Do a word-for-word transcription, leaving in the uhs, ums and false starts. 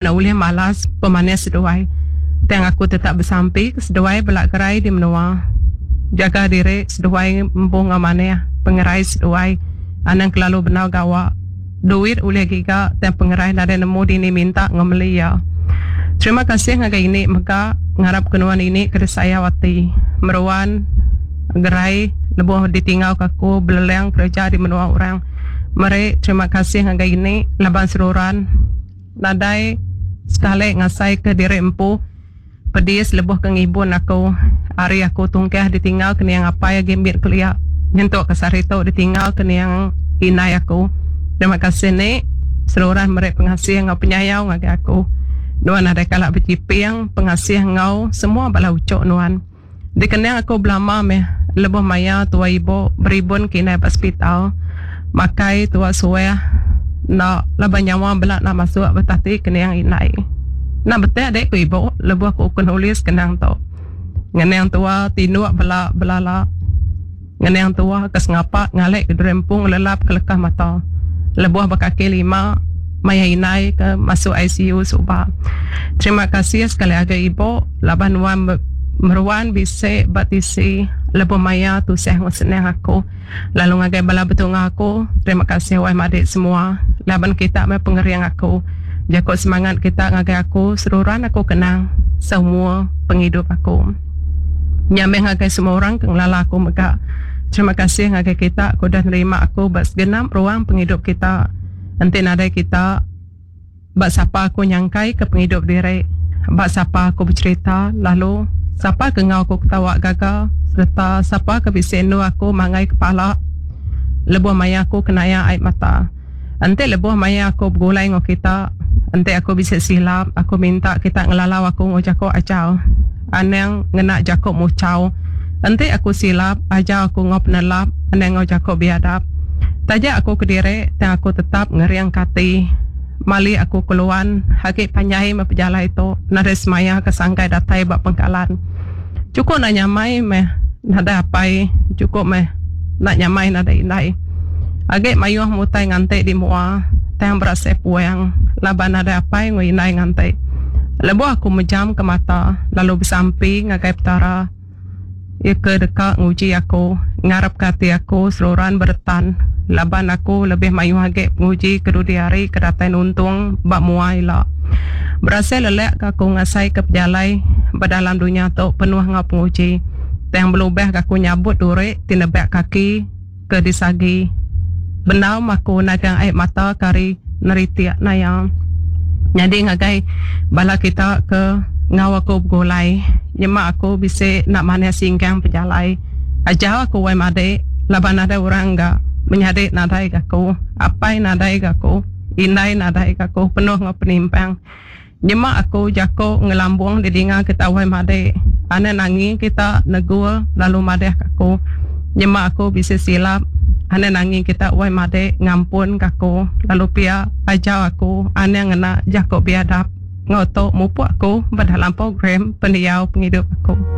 Enda ulih malas pemanis seduai. Tang aku tetap besampi ke seduai bela gerai di menua. Jaga diri seduai empu enggau manah pengerai seduai. Anang kelalu bendar gawa. Duit ulih giga tang pengerai nadai nemu dini minta enggau meli iya. Terima kasih ngagai ini mega ngarap ke nuan ini ke disayau ati. Meruan gerai lebuh ditinggal ke aku belelang kereja di menua orang. Meri terima kasih ngagai ini laban seruran nadai sekali ngasai ke diri empu pedis lebuh ke ngibun aku ari aku tungkah ditinggal ke niang apai agi mit kelia nyentuk ke sehari tu ditinggal ke niang indai aku. Terima kasih ni seruran meri pengasih enggau penyayau ngagai aku. Nuan nadai kala bechiping pengasih enggau semua bala uchu nuan. Dikenang aku belama meh lebuh maya tuai ibu beribun ke indai ba sepital. Makai tua suah enda laban nyawa bela enda masuk betati ke niang indai. Enda betik deh ku ibu lebuh ku ku nulis kenang tu. Ngenang tua tinduk bela belala. Ngenang tua ke sengapa ngalih ke diri empu ngelelap ke leka mata. Lebuh ba kaki lima maya indai ke masuk I C U suba. Terima kasih sekali agi ibu laban nuan meruan bisi ba tisi lebuh maya tusah enggau senang aku. Lalu ngagai bala betunga aku, terima kasih wai madik semua laban kita meh pengering aku. Jaku semangat kita ngagai aku seruran aku kenang semua pengidup aku. Nya meh ngagai semua orang ke ngelala aku mega. Terima kasih ngagai kita ke udah nerima aku ba segenap ruang pengidup kita. Enti nadai kita, ba sapa aku nyangkai ke pengidup diri, ba sapa aku becherita lalu sapa ke enggau aku ketawa gaga sereta sapa ke bisi endur aku manggai kepala lebuh maya aku kenaya ai mata. Enti lebuh maya aku begulai enggau kita, enti aku bisi silap, aku minta kita ngelalau aku enggau jaku ajar. Anang ngena jaku muchau. Enti aku silap, ajar aku enggau penelap, anang enggau jaku biadap. Taja aku kediri, tang aku tetap ngeringka ati. Mali aku keluan, agi panjai meh pejalai tu, nadai semaya ke sangkai datai ba pengkalan. Chukup enda nyamai meh nadai apai, chukup meh enda nyamai nadai indai. Agi mayuh mutai nganti di mua, tang berasai puang laban nadai apai enggau indai nganti. Lebuh aku mejam ke mata lalu besampi ngagai Petara, iya ke deka nguji aku, ngarapka ati aku seruran beretan laban aku lebih mayuh agi penguji ke dudi hari ke datai nuntung ba mua ila. Berasai lelak ke aku ngasaika pejalai ba dalam dunya tu penuh enggau penguji. Tang belubah ke aku nyabut duri ti nebak kaki ke disagi. Bendar meh aku nagang ai mata ke ari neritik naya. Nyadi ngagai bala kita ke enggau aku begulai, nyema aku bisi enda manah singkang pejalai. Ajar aku wai madik laban nadai orang ga menyadi nadai ga aku, apai nadai ga aku, indai nadai ga aku, penuh enggau penimpang. Nyema aku jaku ngelambung didinga kita wai madik, anang nangi kita negur lalu madah ka aku. Nyema aku bisi silap, anang nangi kita wai madik ngampun ka aku lalu pia ajar aku anang ngena jaku biadap. Enggau tu mupuk aku ba dalam program pendiau pengidup aku.